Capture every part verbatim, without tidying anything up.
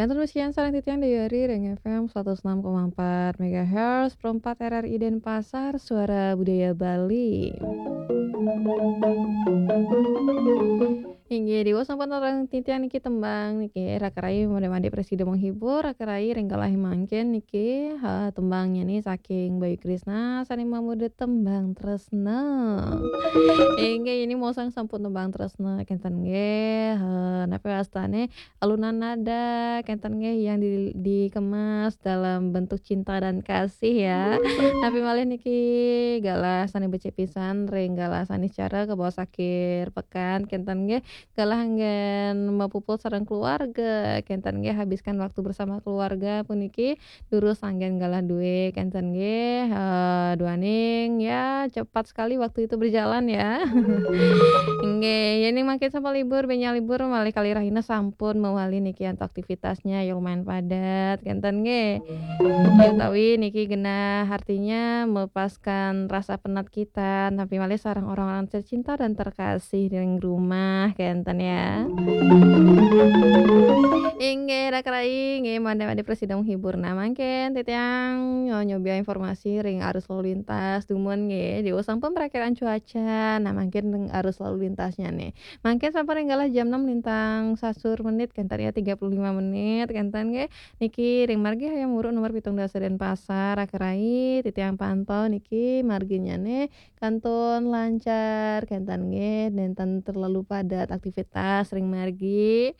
Yang terus sekian sareng titiang Dewi Ari ring F M seratus enam koma empat megahertz, Pro empat R R I Denpasar, Suara Budaya Bali. Inggih, diwaos sampun sareng titiang niki tembang niki, Raka Rai made-made prasida menghibur, Raka Rai ring galah mangkin niki, ha, tembangnya nih saking Bayu Krisna, sane mamurda Tembang Tresna. Inggih, ini mosang sampun Tembang Tresna, kenten nggih, ha, napi wastane alunan nada, kenten nggih, yang di-, dikemas dalam bentuk cinta dan kasih ya. Napi malih niki galah sane becik pisan, ring galah sane cara kebaos akhir pekan, kenten nggih. Galah anggen mapupul sareng keluarga, kenten nggih, habiskan waktu bersama keluarga puniki durus anggen galah duwe, kenten nggih. Eh, duaning ya cepat sekali waktu itu berjalan ya. Nggih, yening mangkin sampun libur, benya libur malih kalih rahina sampun mawali niki antuk aktivitasnya ya lumayan padat, kenten nggih. Ya, utawi niki genah artinya melepaskan rasa penat kita, napi malih sareng orang-orang tercinta dan terkasih ring rumah, kenten ya. Inggih, Raka Rai, nggih, made-made prasida menghibur. Nah, mangkin titiang nyo-, nyobi informasi ring arus lalu lintas, dumun nggih, diwaos sampun perakiraan cuaca. Nah, mangkin ring arus lalu lintasnya nih. Mangkin sampun ring galah jam enam lintang sasur menit, kenten ya, tiga puluh lima menit, kenten nggih. Niki ring margi Hayam Wuruk nomor pitung dasa Denpasar, Raka Rai, titiang pantau niki marginyane kantun lancar, kenten nggih, nenten terlalu padat aktivitas ring margi.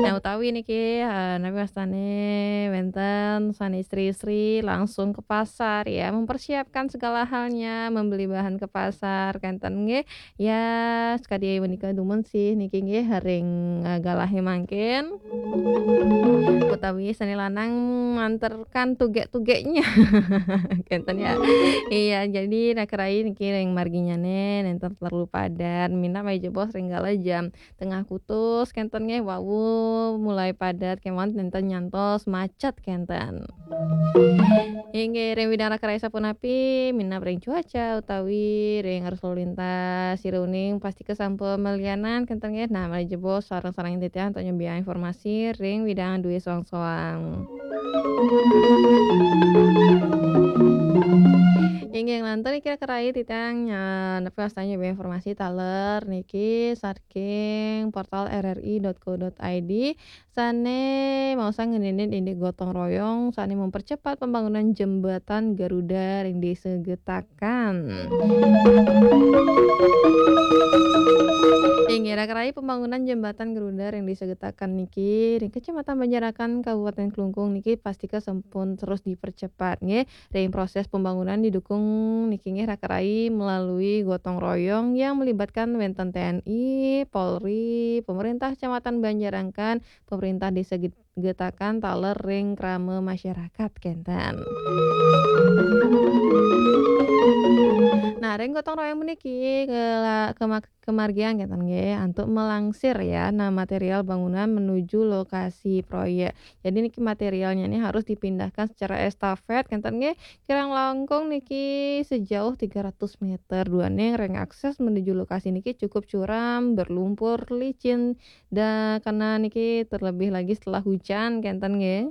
Nah, utawi niki, eh, napi wastane wenten sane istri-istri langsung ke pasar ya, mempersiapkan segala halnya, membeli bahan ke pasar, kenten nggih. Ya, sakadi menika dumun sih niki nggih ring, eh, galahe mangkin. Utawi sane lanang manterkan tugek-tugeknya. Kenten ya. Iya, jadi Raka Rai niki ring marginyane nenten terlalu padat. Minab malih jebos ring galah jam tengah kutus, kenten nggih, wau mulai padat, kemawon nenten nyantos macet, kenten. Inggih, ring widang Raka Rai sapunapi, minab ring cuaca utawi ring arus lalu lintas, sira uning pastika sampun malianan, kenten nggih. Nah, malih jebos sareng-sareng titiang antuk nyobiahang informasi ring widang duwe soang-soang. Inggih, nglantur niki Raka Rai titiang, eh, napi wastane nyobiahang informasi taler niki saking portal R R I dot co dot I D. Sane maosang ngeninin indik gotong royong sane mempercepat pembangunan jembatan Garuda ring Desa Getakan. Inggih, Raka Rai, pembangunan jembatan Garuda ring Desa Getakan niki ring Kecamatan Banjarakan, Kabupaten Klungkung niki pastika sampun terus dipercepat nggih. Ring proses pembangunan didukung niki nggih Raka Rai melalui gotong royong yang melibatkan wenten T N I, Polri, pemerintah Kecamatan Banjarakan, pemerintah Desa Get-, Getakan taler ring krama masyarakat, kenten. Nah, ring gotong royong puniki kela-, kema-, kemargiang, kenten nggih, antuk melangsir ya, nah, material bangunan menuju lokasi proyek. Jadi niki materialnya nih harus dipindahkan secara estafet, kenten nggih. Kirang langkung niki sejauh tiga ratus meter. Duaning ring akses menuju lokasi niki cukup curam, berlumpur, licin, dan karena niki terlebih lagi setelah hujan, kenten nggih.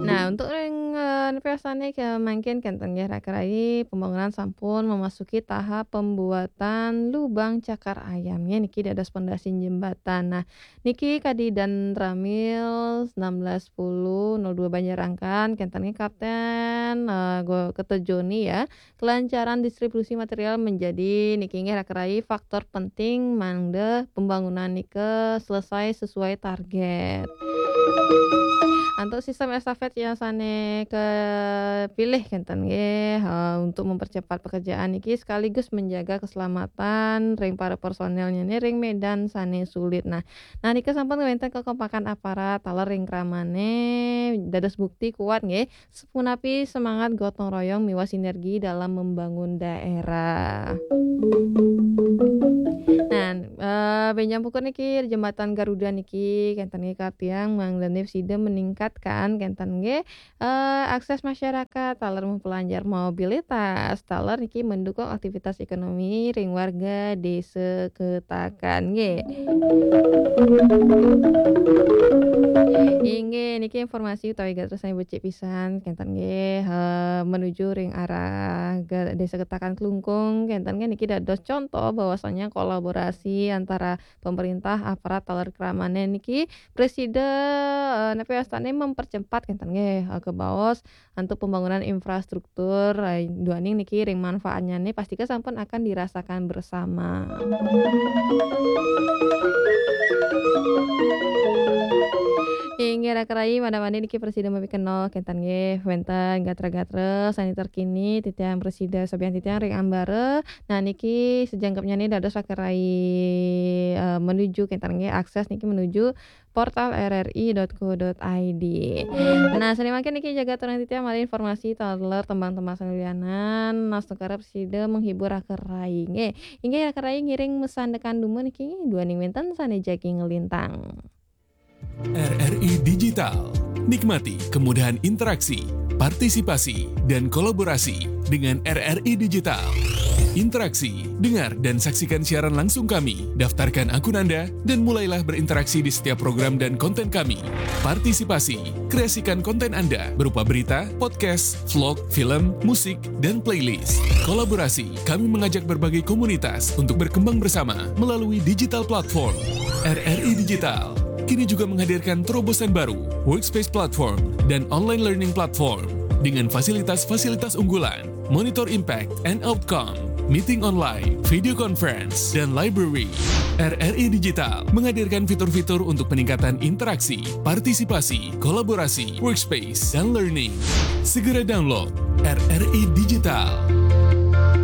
Nah, untuk ring, eh, napi wastane ke mangkin, kenten nggih, Raka Rai, pembangunan sampun memasuki tahap pembuatan lubang cakar ayam nggih, niki dados pondasi jembatan. Nah, niki kadi Danramil enam belas sepuluh nol dua Banjarangkan, kenten nggih Kapten, eh, Go-, Keto Joni ya. Kelancaran distribusi material menjadi niki nggih Raka Rai faktor penting mangda pembangunan nika selesai sesuai target. Antuk sistem estafet yang sane kepilih kenten nggih, eh, untuk mempercepat pekerjaan niki sekaligus menjaga keselamatan ring para personelnya nih ring medan sane sulit. Nah, nah nika sampun ngwenten kekompakan aparat taler ring kramane dados bukti kuat nggih punapi semangat gotong royong miwah sinergi dalam membangun daerah. Nah, eh, Eh, bénjang pungkur niki Jembatan Garuda niki kénten nggih kapian mangdané sida meningkatkan kénten nggih, eh, akses masyarakat taler memperlancar mobilitas taler niki mendukung aktivitas ekonomi ring warga Désa Ketakan nggih. Inggih niki informasi utawi gatra sané becik pisan kénten nggih, eh, menuju ring arah ga-, Désa Ketakan Klungkung kénten nggih niki dados contoh bahwasanya kolaborasi antara pemerintah, aparat taler kramané niki prasida, eh, napi wastané mempercepat kénten nggih, eh, kabaos antuk pembangunan infrastruktur, eh, duaning niki ring manfaatnyané pastika sampun akan dirasakan bersama. Inggih raka rayi, mangda mangkin niki prasida mapikenoh kénten nggih wénten gatra-gatra sané terkini titiang prasida sobiahang titiang ring ambara. Nah niki sajangkepnyané dados raka rayi, eh, menuju kénten nggih akses niki menuju portal R R I dot co dot I D. Nah, sané mangkin niki jaga aturang titiang malih informasi taler tembang-tembang sané lianan, nastungkara prasida menghibur raka rayi nggih. Inggih raka rayi ngiring masandekan dumun niki duaning wénten sané jagi nglintang. R R I Digital. Nikmati kemudahan interaksi, partisipasi, dan kolaborasi dengan R R I Digital. Interaksi, dengar dan saksikan siaran langsung kami. Daftarkan akun Anda dan mulailah berinteraksi di setiap program dan konten kami. Partisipasi, kreasikan konten Anda berupa berita, podcast, vlog, film, musik, dan playlist. Kolaborasi, kami mengajak berbagai komunitas untuk berkembang bersama melalui digital platform. R R I Digital kini juga menghadirkan terobosan baru, Workspace Platform dan Online Learning Platform dengan fasilitas-fasilitas unggulan, monitor impact and outcome, meeting online, video conference, dan library. R R I Digital menghadirkan fitur-fitur untuk peningkatan interaksi, partisipasi, kolaborasi, workspace, dan learning. Segera download R R I Digital.